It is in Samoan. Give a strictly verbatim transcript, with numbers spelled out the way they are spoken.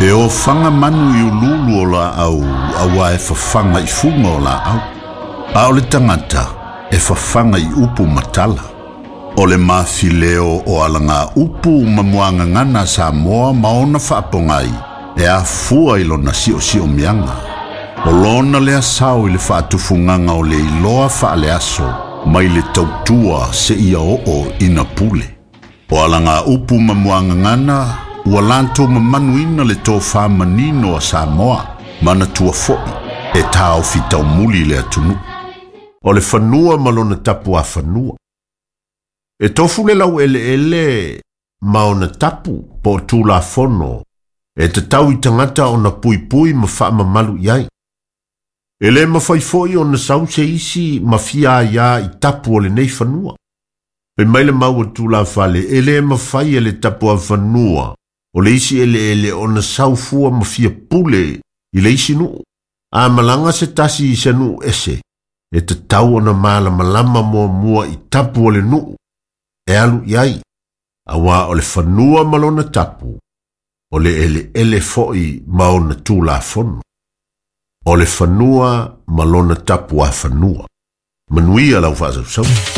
E ofaga manu i ululu o laau auā e fafaga i fuga o laau. A o le tagata e fafaga i upu ma tala. O le mafileo o alaga upu ma muagagana a Samoa ma ona faapogai e afua i lona siosiomiaga. O lona lea sao i le faatufugaga o le iloa faaleaso mai le tautua seia oo ina pule. O alaga upu ma muagagana ua latou mamanuina le tofā manino a Samoa, manatua fo'i e taofi taumuli le atunuu. O le fanua ma lona tapuafanua. E tofu le laueleele ma ona tapu po o tulafono e tatau i tagata ona puipui ma faamamalu i ai. E lē mafai fo'i ona sau se isi ma fia aiā i tapu o lenei fanua. Fai mai le mau a tulafale, e lē mafai e le tapuafanua o le isi eleele ona sau fua ma fia pule i le isi nuu. A malaga se tasi i se nuu ese, e tatau ona malamalama muamua i tapu o le nuu e alu i ai, auā o le fanua ma lona tapu, o le eleele fo'i ma ona tulafono. O le fanua ma lona tapuafanua. Manuia lau faasausauga.